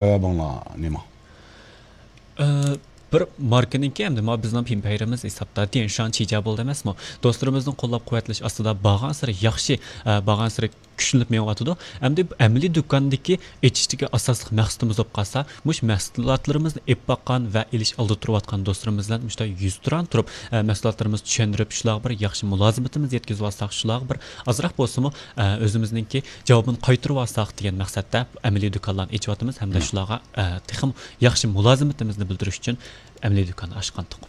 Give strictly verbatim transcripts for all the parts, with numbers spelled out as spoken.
سەۋەبىڭلار نېمە؟ ئە، بىر ماركىنىڭكى ھەمدە ما بىزنىڭ پىمپەيرىمىز ھېسابتا تيەنشان چىجيا بولدى ئەمەسمۇ؟ دوستلىرىمىزنىڭ قوللاپ قۇۋۋەتلىشى ئاستىدا بارغانسېرى ياخشى، ئە، بارغانسېرى كۈچلىنىپ مېڭىۋاتىدۇ. ئەمدى ئەمەلىي دۇكاندىكى ئېچىشتىكى ئاساسلىق مەقسىتىمىز بولۇپ قالسا، مۇشۇ مەھسۇلاتلىرىمىزنى ئېلىپ باققان ۋە ئېلىش ئالدىدا تۇرۇۋاتقان دوستلىرىمىز بىلەن مۇشۇنداق يۈزتۇرا تۇرۇپ، ئە، مەھسۇلاتلىرىمىزنى چۈشەندۈرۈپ، شۇلارغا بىر ياخشى مۇلازىمىتىمىزنى يەتكۈزۈۋالساق، شۇلارغا بىر ئازراق بولسىمۇ، ئە، ئۆزىمىزنىڭكى جاۋابىنى قايتۇرۇۋالساق دېگەن مەقسەتتە ئەمەلىي دۇكانلارنى ئېچىۋاتىمىز ھەمدە مم. شۇلارغا، ئە، تېخىمۇ ياخشى مۇلازىمىتىمىزنى بىلدۈرۈش ئۈچۈن ئەمەلىي دۇكاننى ئاچقانتۇق.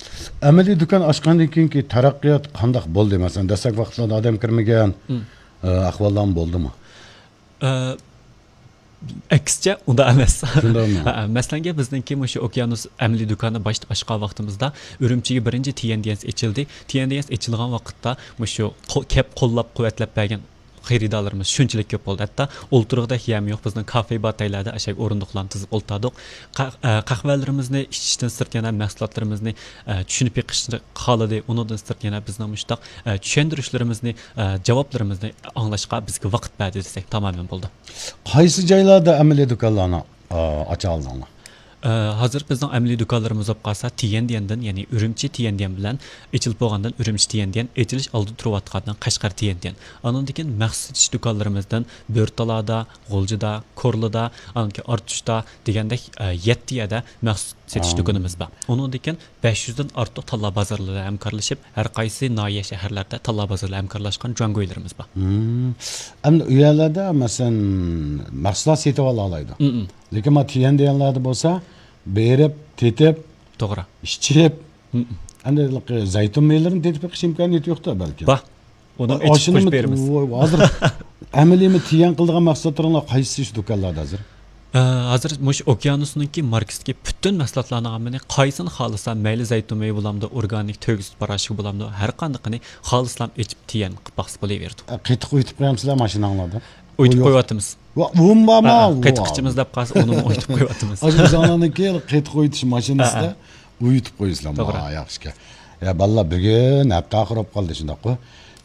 ئەمەلىي دۇكان ئاچقاندىن كېيىنكى تەرەققىيات قانداق بولدى؟ مەسىلەن، دەسلەپكى ۋاقىتلاردا ئادەم كىرمىگەن، مم. ئە، ئەھۋاللارمۇ بولدىمۇ؟ ئە، ئەكسىچە، ئۇنداق ئەمەس. شۇنداقمۇ؟ ھە، مەسىلەنگە، بىزنىڭكى مۇشۇ ئوكيانۇس ئەمەلىي دۇكانى باش-، ئاچقان ۋاقتىمىزدا، ئۈرۈمچىگە بىرىنچى تيەنديەنس ئېچىلدى. تيەنديەنس ئېچىلغان ۋاقىتتا، مۇشۇ قو-، كەپ قوللاپ قۇۋۋەتلەپ بەرگەن خېرىدارلىرىمىز شۇنچىلىك كۆپ بولدى. ھەتتا ئولتۇرغۇدەك يەرمۇ يوق. بىزنىڭ كافې بار تەيلەردە ئاشۇ ئورۇندۇقلارنى تىزىپ ئولتۇردۇق. قە-، ئە، قەھۋەلىرىمىزنى ئىچىشتىن سىرت يەنە مەھسۇلاتلىرىمىزنى، ئە، چۈشىنىپ بېقىشنى خالىدى. ئۇنىڭدىن سىرت يەنە بىزنىڭ مۇشۇنداق، ئە، چۈشەندۈرۈشلىرىمىزنى، ئە، جاۋابلىرىمىزنى ئاڭلاشقا بىزگە ۋاقىت بەردى دېسەك تامامەن بولىدۇ. قايسى جايلاردا ئەمەلىي دۇكانلارنى، ئا، ئاچالدىڭلار؟ ئە، ھازىر بىزنىڭ ئەمەلىي دۇكانلىرىمىز بولۇپ قالسا، تيەنديەندىن، يەنى ئۈرۈمچى تيەنديەن بىلەن ئېچىلىپ بولغاندىن ئۈرۈمچى تيەنديەن، ئېچىلىش ئالدىدا تۇرۇۋاتقاندىن قەشقەر تيەنديەن. ئاندىن كېيىن مەخسۇس سېتىش دۇكانلىرىمىزدىن بۆرتالادا، غۇلجىدا، كورلىدا، ئاندىن كېيىن ئارتۇشتا دېگەندەك، ئە، يەتتە يەردە مەخسۇس سېتىش ئا. دۇكىنىمىز بار. ئۇنىڭدىن كېيىن بەش يۈزدىن ئارتۇق تاللا بازارلىرى ھەمكارلىشىپ، ھەر قايسى ناھىيە، شەھەرلەردە تاللا بازارلار ھەمكارلاشقان جۇاڭگويلىرىمىز بار. مم. ئەمدى ئۇ يەرلەردە، مەسىلەن، مەھسۇلات سېتىۋالالايدۇ. مم. لېكىن ما تيەنديەنلەردە بولسا، بېرىپ، تېتىپ، توغرا. ئىچىپ، مم. ئەمدى زەيتۇن مېۋىلىرىنى تېتىپ بېقىش ئىمكانىيىتى يوقتا بەلكىم. بار. ئۇنى ئا، ئېچىپ ئاشۇنى قويۇپ بېرىمىز. ۋاي، ھازىر ئەمەلىيمۇ تيەن قىلىدىغان مەھسۇلاتلىرىڭلار قايسى شۇ دۇكانلاردا ھازىر؟ ئە، ھازىر مۇشۇ ئوكيانۇسنىڭكى ماركىسىدىكى پۈتۈن مەھسۇلاتلارنىڭ ھەممىنى قايسىنى خالىسا، مەيلى زەيتۇن مېۋە بولامدۇ، ئورگانىك تۆگە سۈت پاراشوكى بولامدۇ، ھەر قاندىقىنى خالىسىلا ئېچىپ تيەن قىلىپ باقسا بولۇۋېرىدۇ. ئە، قېتىق ئۇيۇتۇپ قويامسىلەر ماشىناڭلاردا؟ ئۇيۇتۇپ قويۇۋاتىمىز. ۋا، ئۇم بارمۇ؟ ھە، ھە، قېتىق ئىچىمىز دەپ قالسا، ئۇنىمۇ ئۇيۇتۇپ قويۇۋاتىمىز. ئاشۇ ئۆزۈڭلارنىڭكى قېتىق ئۇيۇتۇش ماشىنىسىدا ھە، ھە. ئۇيۇتۇپ قويىسىلەر. توغرا. ۋا، ياخشى ئىكەن. يا، بالىلار، بۈگۈن ھەپتە ئاخىرى بولۇپ قالدى، شۇنداققۇ؟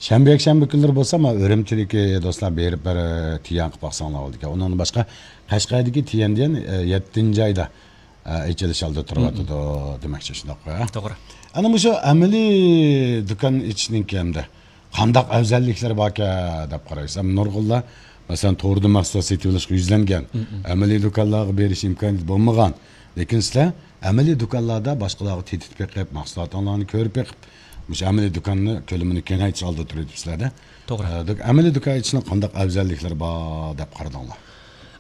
شەنبە، يەكشەنبە كۈنلىرى بولسا، مانا ئۈرۈمچىدىكى دوستلار بېرىپ بىر تيەن قىلىپ باقساڭلار بولىدىكەن. ئۇنىڭدىن باشقا، قەشقەردىكى تيەندىن، ئە، يەتتىنچى ئايدا، ئە، ئېچىلىش ئالدىدا تۇرۇۋاتىدۇ دېمەكچى، شۇنداققۇ؟ توغرا. ئەنە مۇشۇ ئەمەلىي دۇكان ئېچىشنىڭكى ھەمدە قانداق ئەۋزەللىكلىرى باركەن دەپ قارايسىز. ئەمما نۇرغۇنلار، مەسىلەن، توردا مەھسۇلات سېتىۋېلىشقا يۈزلەنگەن، مم. ئەمەلىي دۇكانلارغا بېرىش ئىمكانىيىتى بولمىغان. لېكىن سىلەر ئەمەلىي دۇكانلاردا باشقىلارغا تېتىتىپ بېقىپ، مەھسۇلاتىڭلارنى كۆرۈپ بېقىپ، مۇشۇ ئەمەلىي دۇكاننى كۆلىمىنى كېڭەيتىش ئالدىدا تۇرۇۋېتىپسىلەر-دە. توغرا. ئە، دۇك-، ئەمەلىي دۇكان ئېچىشنىڭ قانداق ئەۋزەللىكلىرى بار دەپ قارىدىڭلار؟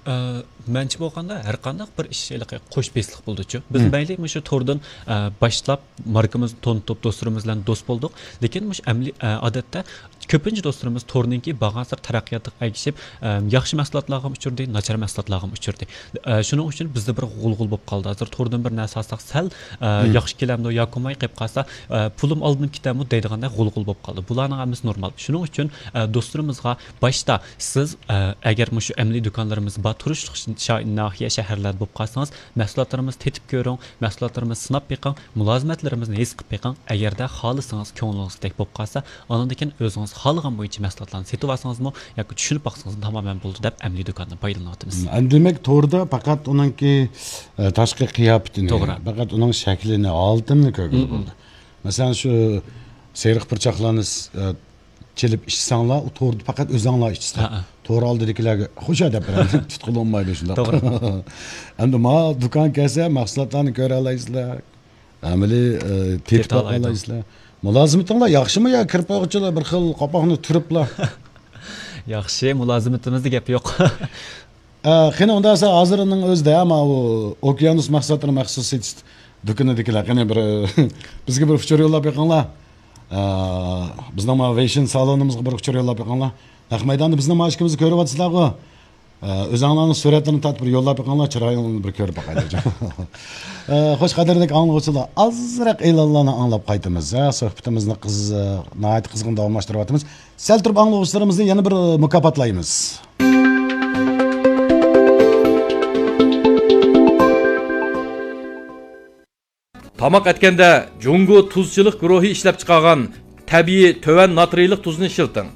ئە، مەنچە بولغاندا، ھەر قانداق بىر ئىش ھېلىقى قوش بېسىقلىق بولىدۇچۇ. بىز مم. مەيلى مۇشۇ توردىن، ئە، باشلاپ، ماركىمىزنى تونۇتۇپ، دوستلىرىمىز بىلەن دوست بولدۇق. لېكىن مۇشۇ ئەمەلىي، ئە، ئادەتتە كۆپىنچە دوستلىرىمىز تورنىڭكى بارغانسېرى تەرەققىياتىغا ئەگىشىپ، ئە، ياخشى مەھسۇلاتلارغىمۇ ئۇچرىدى، ناچار مەھسۇلاتلارغىمۇ ئۇچرىدى. ئە، شۇنىڭ ئۈچۈن بىزدە بىر غۇلغۇلا بولۇپ قالدى. ھازىر توردىن بىر نەرسە ئالساق، سەل، ئە، مم. ياخشى كېلەمدۇ ياكى بولماي قېلىپ قالسا، ئە، پۇلۇم ئالدىنىپ كېتەمدۇ دەيدىغاندەك غۇلغۇلا بولۇپ قالدى. بۇلارنىڭ ھەممىسى نورمال. شۇنىڭ ئۈچۈن، ئە، دوستلىرىمىزغا باشتا سىز، ئە، ئەگەر مۇشۇ ئەمەلىي دۇكانلىرىمىز بار تۇرۇشلۇق شا-، ناھىيە، شەھەرلەردە بولۇپ قالسىڭىز، مەھسۇلاتلىرىمىزنى تېتىپ كۆرۈڭ، مەھسۇلاتلىرىمىزنى سىناپ بېقىڭ، مۇلازىمەتلىرىمىزنى ھېس قىلىپ بېقىڭ. ئەگەردە خالىسىڭىز، كۆڭلىڭىزدەك بولۇپ قالسا، ئاندىن كېيىن ئۆزىڭىز خالىغان بويىچە مەھسۇلاتلارنى سېتىۋالسىڭىزمۇ ياكى چۈشىنىپ باقسىڭىزمۇ تامامەن بولىدۇ دەپ ئەمەلىي دۇكاندىن پايدىلىنىۋاتىمىز. ئەمدى دېمەك، توردا پەقەت ئۇنىڭكى، ئە، تاشقى قىياپىتىنى، توغرا. پەقەت ئۇنىڭ شەكلىنى، ھالىتىنىلا كۆرگىلى مم. بولىدۇ. مەسىلەن، شۇ سېرىق پۇرچاقلارنى س-، ئە، چېلىپ ئىچسەڭلار، ئۇ توردا پەقەت ئۆزۈڭلار ئىچىسىلەر. ھە، ھە. تور ئالدىدىكىلەرگە خوشە دەپ بېرەمدۇ، تۇتقىلى بولمايدۇ شۇنداق. توغرا. ئەمدى ما دۇكان كەلسە، مەھسۇلاتلارنى كۆرەلەيسىلەر. ئەمەلىي، ئە، تېتىپ تېتىپ باقالايدۇ. باقالايسىلەر. مۇلازىمىتىڭلار ياخشىمۇ يا كىرىپ بولغۇچىلا بىر خىل قاپاقنى تۈرۈپلا؟ ياخشى، مۇلازىمىتىمىزدە گەپ يوق. ئە، قېنى، ئۇنداق بولسا ھازىرنىڭ ئۆزىدە، ئەمما ئۇ ئوكيانۇس مەھسۇلاتلىرى مەخسۇس سېتىش دۇكىنىدىكىلەر، قېنى، بىر، بىزگە بىر ئۇچۇر يوللاپ بېقىڭلار. ئە، بىزنىڭ ما ۋېيشىن سالونىمىزغا بىر ئۇچۇر يوللاپ بېقىڭلار. نەق مەيداندا بىزنىڭ ما ئىشىكىمىزنى كۆرۈۋاتىسىلەرغۇ. ئە، ئۆزۈڭلارنىڭ سۈرەتلىرىنى تارتىپ بىر يوللاپ بېقىڭلار، چىرايىڭلارنى بىر كۆرۈپ باقايلى. ئە، خوش، قەدىردىكى ئاڭلىغۇچىلار، ئازراق ئېلانلارنى ئاڭلاپ قايتىمىز. ھە، سۆھبىتىمىزنى قىز-، ناھايىتى قىزغىن داۋاملاشتۇرۇۋاتىمىز. سەل تۇرۇپ ئاڭلىغۇچىلىرىمىزنى يەنە بىر مۇكاپاتلايمىز. تاماق ئەتكەندە جۇڭگو تۇزچىلىق گۇرۇھى ئىشلەپچىقارغان تەبىئىي تۆۋەن ناترىيلىق تۇزنى ئىشلىتىڭ.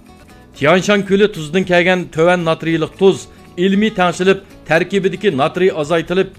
تيانشان كۆلى تۇزىدىن كەلگەن تۆۋەن ناترىيلىق تۇز ئىلمىي تەڭشىلىپ، تەركىبىدىكى ناترىي ئازايتىلىپ،